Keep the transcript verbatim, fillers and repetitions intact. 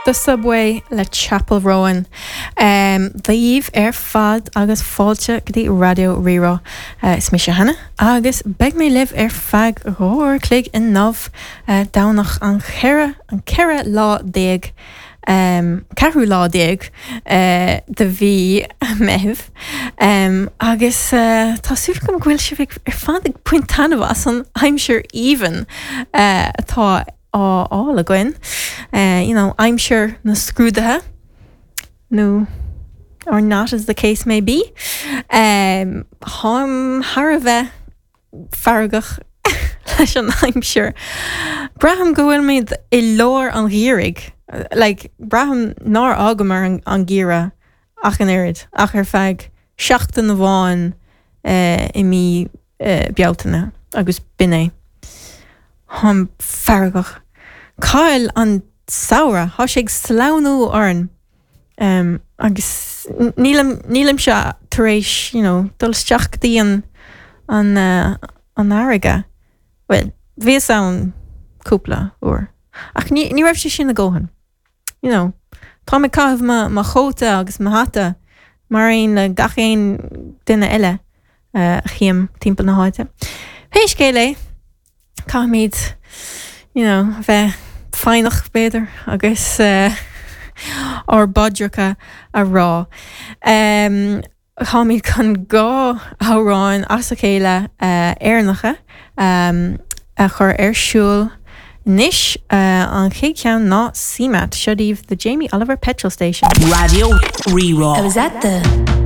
The Subway le Chappell Roan. Um, Daoibh ar fad agus fáilte go dtí Raidió Rí-Rá uh, is mise Hannah agus beidh mé libh ar feadh dhá uair chloig inniu uh, Domhnach an cheithre an ceithre lá déag um, ceathrú lá déag uh, de mhí Meitheamh um, agus uh, tá súil agam go bhfuil sibh ar fad ag baint taitneamh as an aimsir aoibhinn uh, atá á fháil againn uh, you know, aimsir na scrúduithe nó or not as the case may be. Um, Táim thar a bheith feargach leis an aimsir. Braithim go bhfuilimid i lár an gheimhridh, like, braithim nár fhágamar an, an geimhreadh ach an oiread ach ar feadh seachtain amháin uh, i mí uh, Bealtaine agus b'in é. Táim feargach. Cá bhfuil an samhradh tá sé ag sleamhnú orainn. Um, agus nílim nílimse tar éis you know, dul isteach go dtí an an uh, an fharraige. Well, bhíos ann cúpla uair. Ach ní, ní raibh sé sin a dhóthain. You know, Tá mé ag caitheamh mo chóta agus mo hata mar aon le gach aon duine eile uh, a chím timpeall na háite. Pé scéal é caithfimid you know, bheith foighneach b'fhéidir agus uh, ár bpaidreacha a rá. Um, Táimid chun dhá amhrán as a chéile uh, Éireannacha um, a chur ar siúl anois uh, an chéad cheann ná CMAT seo daoibh the Jamie Oliver Petrol Station. Raidió Rí-Rá. I was at the